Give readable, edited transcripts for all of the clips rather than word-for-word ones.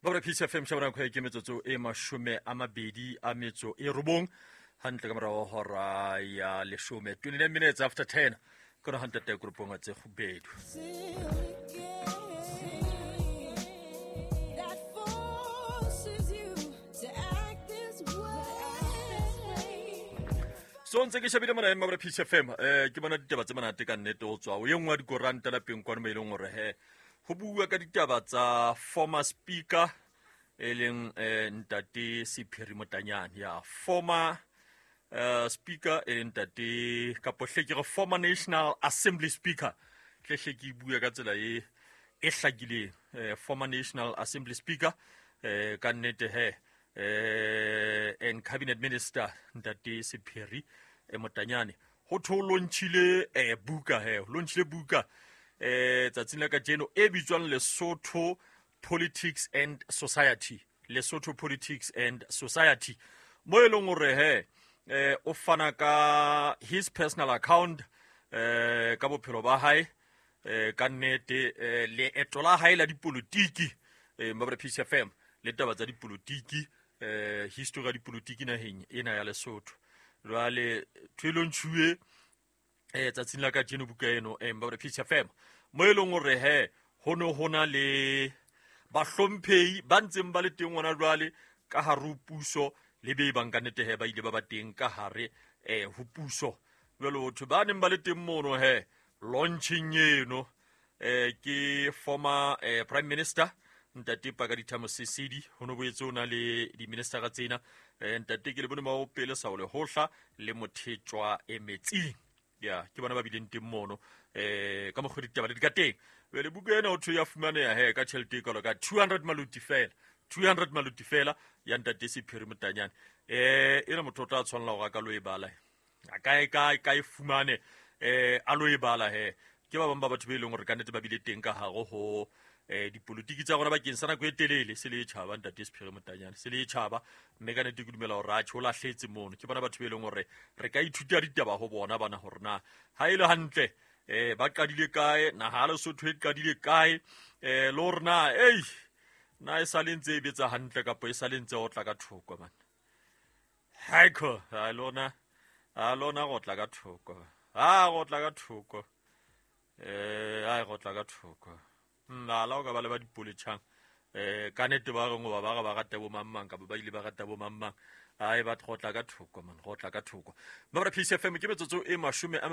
Babra Peace FM shabana nako ke metsotso e 29 hantle ka morago hora ya leshome, 29 minutes after 10 kona hantle te grupong tse kgubedu. That forces you to act this way. So ntse ke shebile mona Mabra Peace FM, ke bona ditaba tse monate ka nnete ho tswa ho e nngwe ya dikoranta lapeng kwano mo e leng hore he ho bua ka ditaba tsa former speaker e leng ntate Sephiri Motanyane, ya former speaker e leng ntate kapo hle ke re former National Assembly Speaker, hle hle ke bua ka tsela e e hlakileng, former National Assembly Speaker, ka nnete he, and cabinet minister ntate Sephiri Motanyane ho thwe o launchile buka he, o launchile buka tsatsing la kajeno e bitswang Lesotho Politics and Society, Lesotho Politics and Society, mo e leng hore he o fana ka his personal account ka bophelo ba hae, ka nnete leeto la hae la dipolotiki, Mabra Peace FM le taba tsa dipolotiki, history ya dipolotiki naheng ena ya Lesotho. Jwale ntho e launchuwe tsatsing la kajeno buka eno, Mabra Peace FM, mo e leng hore he ho ne ho na le bahlomphehi ba ntseng ba le teng hona jwale ka hare ho puso le be bang ka nnete he ba ile ba ba teng ka hare ho puso. Jwale ho thwe ba neng ba le teng mono he launching eno ke former prime minister ntate Pakalitha Mosisili, ho no boetse o na le di-ministera tsena, ntate ke le bone Maopele Saole Hohla le Mothetjwa Metsing, ya ke bona ba bileng teng mono ka mokgwa ditaba le di ka teng. Jwale buka ena ho thwe ya fumaneha he ka tjhelete e kalo ka 200 maluti fela, 200 maluti fela ya ntate Sephiri Motanyane. Ena motho o tla tshwanela hore a ka lo e bala, a ka e fumane, a lo e bala he. Ke ba bang ba batho be leng hore ka nnete ba bile teng ka hare ho dipolotiki tsa rona bakeng sa nako e telele, se le e tjhaba ntate Sephiri Motanyane, se le e tjhaba, mme ka nnete ke dumela hore atjhe o lahletse mono. Ke bona batho be leng hore re ka ithuta ditaba ho bona bana hore na ha e le hantle ba qadile kae, naha ya Lesotho e qadile kae, le hore na ei na e sale ntse e betsa hantle kapa e sale ntse o tla ka thoko man. Haiko ha lona, ha lona go tla ka thoko, ha go tla ka thoko, ha go tla ka thoko. Nna la o ka ba le ba dipoletjhang, ka nnete ba reng hoba ba re ba rata bo mang mang kapa ba ile ba rata bo mang mang, ai ba go tla ka thoko man, go tla ka thoko. Mabra Peace FM ke metsotso e 29, a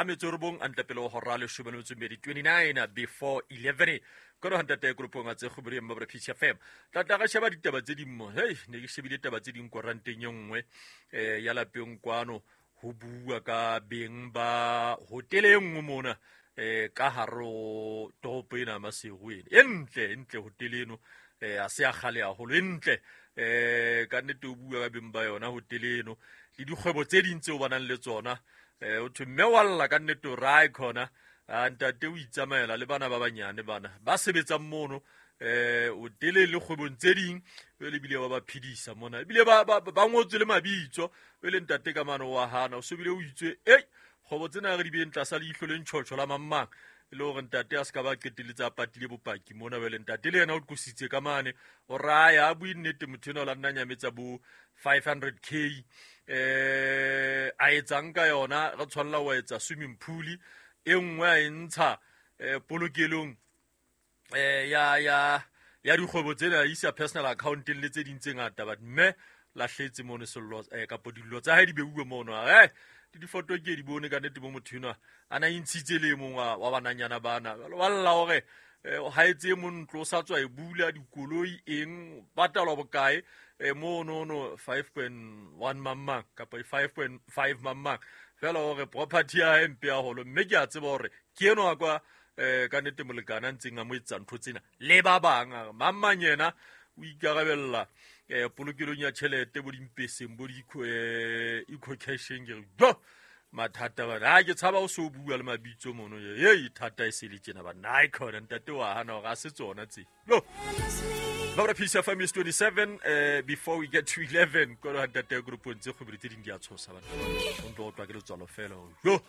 metso e robong a ntle pele ho hora 12, 29 before 11. Kono ha ntate grupong a tse kgobere Mabra Peace FM. Tla tla re sheba ditaba tse ding mo. Hey, ne ke shebile taba tse ding koranteng e nngwe, ya lapeng kwano ho bua ka beng ba hotele e nngwe mona, ka hare ho toropo ena ya Maseru ena. E ntle, e ntle hotele eno, ha se ya kgale haholo, e ntle. Ka nnete o bua ka beng ba yona hotele eno le dikgwebo tse ding tseo ba nang le tsona. O thwe mme wa lla ka nnete o re, ai khona, ntate o itsamaela le bana ba banyane bana ba sebetsang mono, hotele le kgwebong tse ding, jwale ebile ba ba phedisa mona, ebile ba ngotswe le mabitso. Jwale ntate ka mano wa hana, o so bile o itswe, ei kgwebo tsena re di beeng tlasa leihlo le ntjhotjho la mang mang, e le hore ntate a se ka ba qetelletse a patile bopaki mona. Jwale ntate le yena o qositse ka mane, o raya a bue nnete motho enwa o la nna nyametsa bo 500k, a etsang ka yona, re tshwanela ho etsa swimming pool e nngwe a e ntsha, polokelong, ya dikgwebo tsena, a isa personal account-eng le tse ding tse ngata. But mme lahletse mono sello, kapo dillo tsa hae di beuwe mono. Le difoto ke di bone ka nnete mo motho enwa a na intshitse le e mong wa bananyana bana. Jwale wa lla hore, ha etse e mong ntlo, o sa tswa e bula, dikoloi eng, patalwa bokae, mono no 5.1 mang mang kapa 5.5 mang mang, fela hore property ya hae mpe haholo. Mme ke a tseba hore ke enwa kwa, ka nnete molekane a ntseng a mo etsa ntho tsena le ba bang, a re mang mang yena o ikarabella, polokelong ya tjhelete bo dimpeseng bo di eco casheng. Ke re jo mathata bana, ha ke tshaba o so bua le mabitso mono, ei thata e se le tjena bana. Ai khona ntate wa hana hore a se tsona tse. No. Mabra Peace FM is 27, before we get to 11, kono ha ntate ya grupong tse kgobere tse ding di a tshosa bana. O ntlo utlwa ke letswalo fela. Jo.